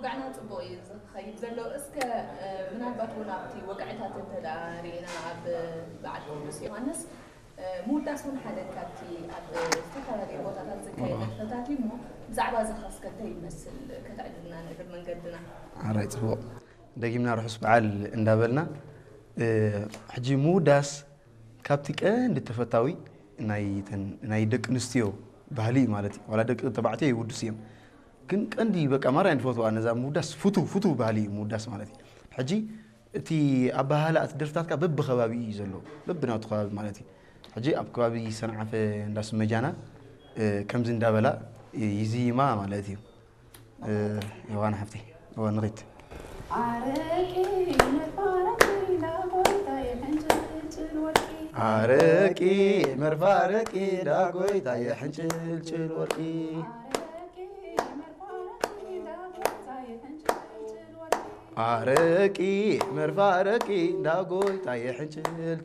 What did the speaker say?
ወግዕና ጽቡቕ እዩ ዝኸይድ ዘሎ። እስከ ምናልባት እውን ኣብቲ ወግዕታት እንተ ደኣ ርኢና ኣብ በዓል ቅዱስ ዮሃንስ ምውዳስ እውን ሓደ ካብቲ ኣብ ዝተፈላለዩ ቦታታት ዝካየድ ንጥፈታት እዩ እሞ ብዛዕባ እዚ ኸስከ እንታይ ይመስል ከተዕልልና ንእግር መንገድና። ኣራይ ጽቡቕ። ደጊምና ርሑስ በዓል እንዳበልና ሕጂ ምውዳስ ካብቲ ቀንዲ ተፈታዊ ናይ ደቂ ኣንስትዮ ባህሊ እዩ ማለት እዩ። ዋላ ደቂ ተባዕትዮ ይውድሱ እዮም፣ ግን ቀንዲ በቃ ማርያ ንፈትዋ ነዛ ምውዳስ ፍቱ ፍቱ ባህሊ እዩ ምውዳስ ማለት እዩ። ሕጂ እቲ ኣባሃህላ እቲ ደርፍታትካ በብከባቢ እዩ ዘሎ፣ በብናቱ ከባቢ ማለት እዩ። ሕጂ ኣብ ከባቢ ሰንዓፈ እንዳስመጃና ከምዚ እንዳበላ ይዝይማ ማለት እዩ። ዮሃና ሓፍተይ እዋ ንኺድ። ኣረቂ መፋረቂ ዳጎይታ የሕንጭልጭል ወርቂ ኣረቂ መርፋረቂ ዳጎይታ የሕንጭልጭል ወርቂ ኣረቂ መርፋረቂ ዳጎይታ የሕንጭልጭል